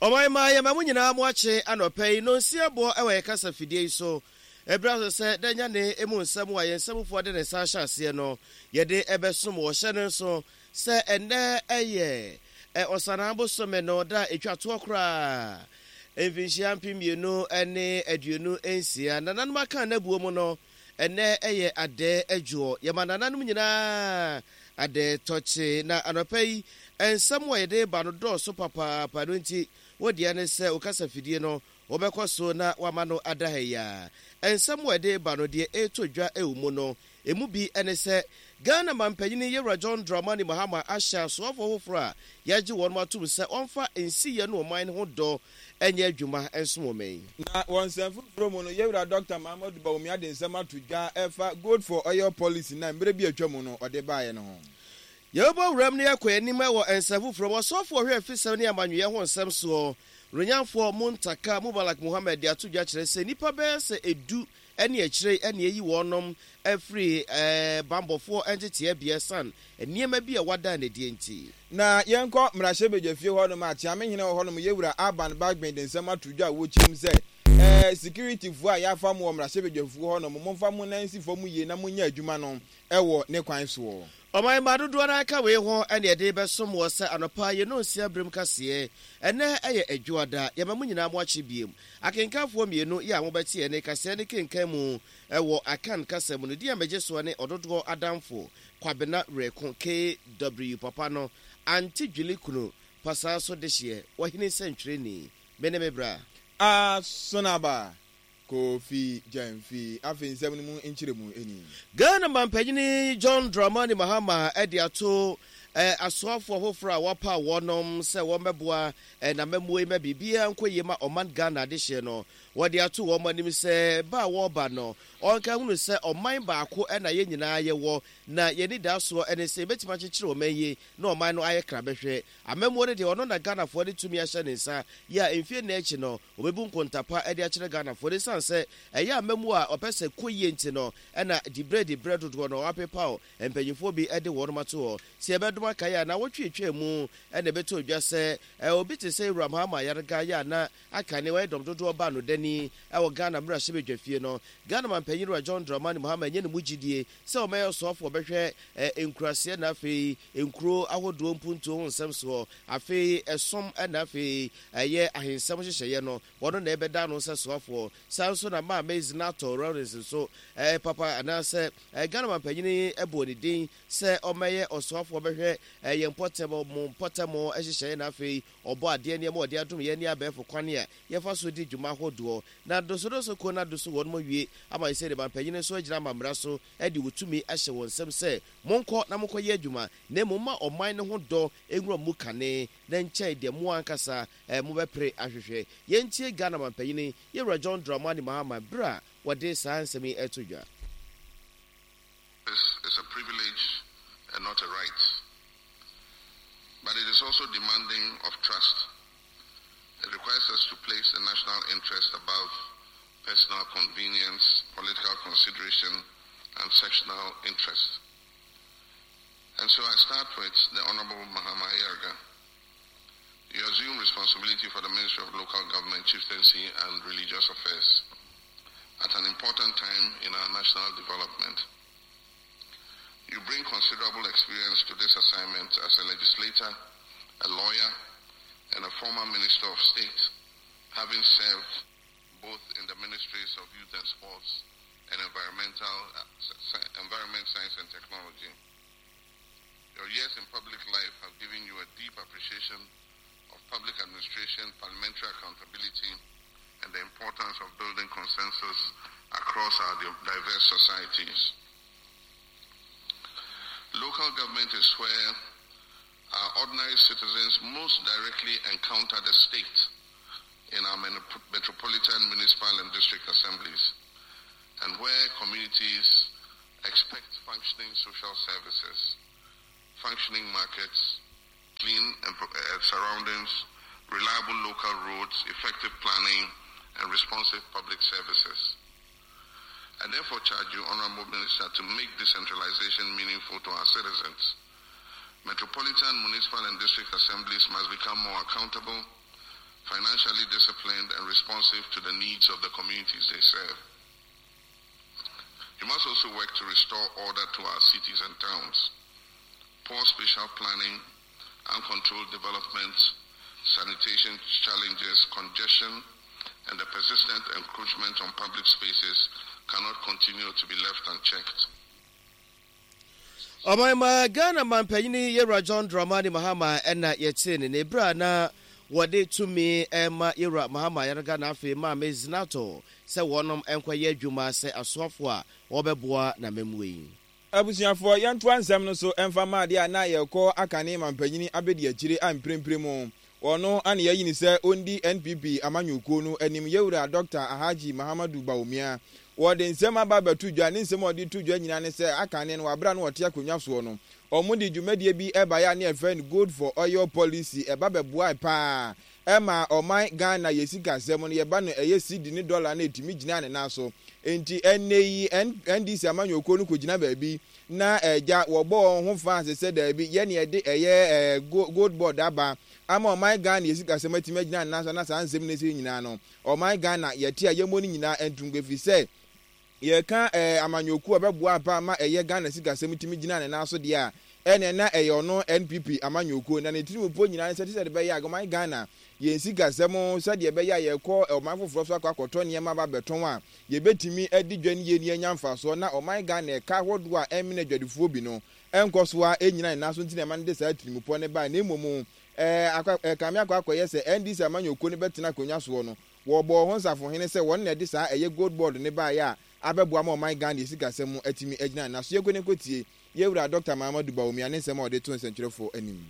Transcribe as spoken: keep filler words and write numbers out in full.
Ɔman mma, yɛma mo nyinaa mo akye anɔpa yi nonsia bɔ wɔ yɛn kasa fidie yi so. Ɛberɛ aso sɛ da nyane emu nsɛm a yɛn nsamufoɔ de ne nsa ahyɛ aseɛ no, yɛde ɛbɛsom wɔ hyɛ no nso sɛ ɛnnɛ ɛyɛ Ɔsanaa bosome no da a ɛtwa toɔ koraa mfinhyia mpem mmienu ne aduonu nsia. Nananom aka n'abuo mu no, ɛnnɛ ɛyɛ Adɛɛ adwoɔ. Yɛma nananom nyinaa Adɛɛ tɔkye. Na anɔpa yi, nsɛm a yɛde ba no dɔɔso papaapa no nti, wo deɛ ne sɛ wo kasa fidie no, wobɛkɔ so na wama no ada ha yi ara. Nsɛm a yɛde ba no, deɛ ɛretɔ dwa wɔ mu no, emu bi ne sɛ, Ghana Mampanyini Yewura John Dramani Mahama ahyɛ asoafoɔ foforɔ a yɛagye wɔn atom sɛ wɔmfa nsiyɛ ne ɔman no ho dɔ nyɛ adwuma nsom ɔman yi. Na wɔ nsɛm foforɔ mu no, Yewura Dɔkta Mahamadou Bawumia de nsɛm ato dwa ɛfa Gold for Oil Policy no a mmerɛ bi a atwa mu no ɔde baeɛ no ho. Yɛbɛbɔ wuram na yɛakɔ yɛn anim wɔ nsɛm foforɔ mu. Ɔsɔfoɔ ɔhwɛ afisɛm ne amanyɔyɛ ho nsɛm soɔ, Ronyanfoɔ Muntaka Mubalak Mohammed de ato dwa kyerɛ sɛ nnipa bɛyɛ sɛ edu ne akyire yi na yɛayi wɔnom afiri banbɔfoɔ nteteɛ bea ɛsiane nneɛma bi a wɔada no adie nti. Na yɛnkɔ mmarahyɛbadwafie hɔnom a Kyeamehene wɔ hɔnom Yewura Alban Bagbin de nsɛm ato dwa a wɔkyerɛ mu sɛ ɛɛ sikiritifoɔ a yɛafa mo wɔ mmarahyɛbadwafuo hɔnom, momfa mo nan nsi fam yie na monyɛ adwuma no wɔ ne kwan soɔ. Ɔman mma dodoɔ no aka wei ho ɛne ɛde bɛsom wɔ sɛ anɔpa yɛn nonsia berem kaseɛ. Ɛnɛ ɛyɛ Adwoada. Yɛma mo nyinaa mo akye biem. Akenkanfoɔ mmienu yɛ a mobɛte ɛne kaseɛ ne kenkan mu ɛwɔ Akan kasa mu no, din a megye soɔ ne Ɔdodoɔ Adamfo Kwabena Werɛko K W papa no Ante Dwili Kunu Pasaa so dehyeɛ Wɔhene nsɛntwerɛni. Me ne me bra Asonaba Kofi Gyamfi. Afei nsɛm no mu nkyerɛmu ni. Ghana mampanyini John Dramani Mahama de ato eh, asoafoɔ foforɔ a wɔapa wɔnom sɛ wɔmmɛboa eh, n'amammuo yi ma biribiara nkɔ yie ma ɔman Ghana adehyeɛ no. Wɔde ato wɔn anim sɛ ba a wɔreba no, ɔnka hunu sɛ ɔman baako na yɛn nyinaa yɛwɔ, na yɛn anidasoɔ ne sɛ yɛbɛtumi akyekyere ɔman yi na ɔman no ayɛ krabɛhwɛ. Amammuo no deɛ, ɔno na Ghanafoɔ de tumi ahyɛ ne nsa yɛ a mfie nnan akyi no wɔbɛbu nkontapa de akyerɛ Ghanafoɔ no. Ɛsiane sɛ ɛyɛ amammuo a ɔpɛ sɛ kɔ yie nti no, ɛna diberɛ diberɛ dodoɔ no wapepaw mpanyinfoɔ bi de wɔn ato hɔ sɛ yɛbɛdom akaeɛ a na wɔtwe twaa mu. Ɛna ɛbɛtɔ dwa sɛ obi te sɛ Ewura Mahama Ayariga yɛ a na aka ne wɔyɛ dɔm dodoɔ ba no dani ɛwɔ Ghana mmarahyɛbadwa fie no, Ghana mampanyin Wura John Dramani Mahama nyɛ ne mu gyidie sɛ ɔmɛyɛ ɔsoafoɔ ɔbɛhwɛ nkuraseɛ na afei nkuro ahodoɔ mpuntuo ho nsɛm soɔ, afei ɛsom na afei ɛyɛ ahensɛm hyehyɛeɛ no, wɔno na ɛbɛda no sɛ soafoɔ. Saa nso na Maame Zanetor Rawlings nso ɛɛ papa anaasɛ Ghana mampanyini ɛbɔ ne din sɛ ɔmɛyɛ ɔsoafoɔ bɛhwɛ ɛyɛ mpɔtɛm mo mpɔtɛm hyehyɛeɛ na afei ɔbɔ adeɛ nneɛma ɔde adom yɛn ne abɛɛfo kwan a yɛfa so di dwuma ahodoɔ na dosodoso kuo no adoso wɔn mo wie ama sɛ de mampanyini nso agyina amammerɛ so de wɔtumi ahyɛ wɔn nsam sɛ monkɔ na monkɔyɛ adwuma, na mmom ma ɔman no ho dɔ nwura mu kane na nkyɛn deɛ mo ankasa eh, mobɛpere ahwehwɛ. Yɛntie Ghana mampanyini Yɛwura John Dramani Mahama berɛ a wɔde saa nsɛm yi ɛto dwa. This is a privilege and not a right. But it is also demanding of trust. It requires us to place the national interest above personal convenience, political consideration, and sectional interest. And so I start with the Honorable Mahama Ayariga. You assume responsibility for the Ministry of Local Government, Chieftaincy, and Religious Affairs at an important time in our national development. You bring considerable experience to this assignment as a legislator, a lawyer, and a former Minister of State, having served both in the Ministries of Youth and Sports and Environmental, uh, Environment, Science and Technology. Your years in public life have given you a deep appreciation of public administration, parliamentary accountability, and the importance of building consensus across our diverse societies. Local government is where our ordinary citizens most directly encounter the state in our metropolitan, municipal, and district assemblies, and where communities expect functioning social services, functioning markets, clean and, uh, surroundings, reliable local roads, effective planning, and responsive public services. I therefore charge you, Honorable Minister, to make decentralization meaningful to our citizens. Metropolitan, municipal, and district assemblies must become more accountable, financially disciplined, and responsive to the needs of the communities they serve. You must also work to restore order to our cities and towns. Poor spatial planning, uncontrolled development, sanitation challenges, congestion, and the persistent encroachment on public spaces cannot continue to be left unchecked. Ɔman ma Ghana mampanyini Yɛwura John Dramani Mahama ɛna yɛkyee ne ne berɛ a na wɔde tumi ɛma Yɛwura Mahama Ayariga na afei Maame Zanetor sɛ wɔnom nkɔyɛ adwuma sɛ asoafoɔ a wɔbɛboa n'amammuo yi. Abusuafoɔ, yɛntoa nsɛm no so ɛmfa ma adeɛ a na yɛkɔ akane mampanyini abɛdi akyire a mprempren mu ɔno ane yɛyi ne sɛ ɔndi N P P amanyɔkuo no anim, Yɛwura Doctor Alhaji Mahamadu Bawumia. Wɔde nsɛm aba abɛto dwa. Ne nsɛm a ɔde to dwa nyinaa ne sɛ akane no, wabra no wɔte akonnwa soɔ no, ɔmo de dwumadie bi ɛbaeɛ a ne yɛfrɛ no Gold for Oil policy. Ɛba bɛboae paa ɛma ɔman Ghana yɛ sikasɛm no, yɛba no ɛyɛ cedi ne dollar no, ɛtumi gyina ne nan so. Nti ɛnɛ yi N D C amanyɔkuo no kɔgyina baabi na ɛgya wɔbɔ wɔn ho fa ase sɛ daabi, yɛne yɛde ɛyɛ ɛɛ Gold Board aba ama ɔman Ghana yɛ sikasɛm atumi agyina ne nan so. Na saa nsɛm no sɛ nyinaa no, ɔman Ghana yɛte a yɛmmɔ no nyinaa ntom, ɛfiri sɛ yɛka ɛɛ amanyɔkuo a ɔbɛboa pa ama ɛyɛ Ghana sikasɛm tumi gyina ne nan so deɛ a, ɛnɛ na ɛyɛ ɔno N P P amanyɔkuo. Na ne tirim po nyinaa sɛ te sɛ de bɛyɛ a ɔman Ghana yɛn sikasɛm, sɛdeɛ ɛbɛyɛ a yɛkɔ ɔman foforɔ so akɔ akɔtɔ nneɛma ba bɛtɔn a, yɛbɛtumi adi dwa no yie ne anya mfasoɔ, na ɔman Ghana ɛka ahodoɔ a ɛmene adwadifoɔ bi no ɛnkɔ so a ɛnyina ne nan so. Nti na ɛma no de saa tirimupɔ ne baa. Na mmom ɛɛ akɔ ɛkame akɔ akɔyɛ sɛ N D C amanyɔkuo no bɛtena akonnwa soɔ no, wɔbɔ ho nsafohene sɛ wɔn na ɛde saa ɛyɛ Gold Board ne baeɛ a abɛboa ma ɔman Ghana sikasɛm mu atumi agyina ne nan so. Yɛnkɔ ne nkɔtie yɛwura Doctor Mahamadu Bawumia ne nsɛm a ɔde to nsɛntwerɛfoɔ anim.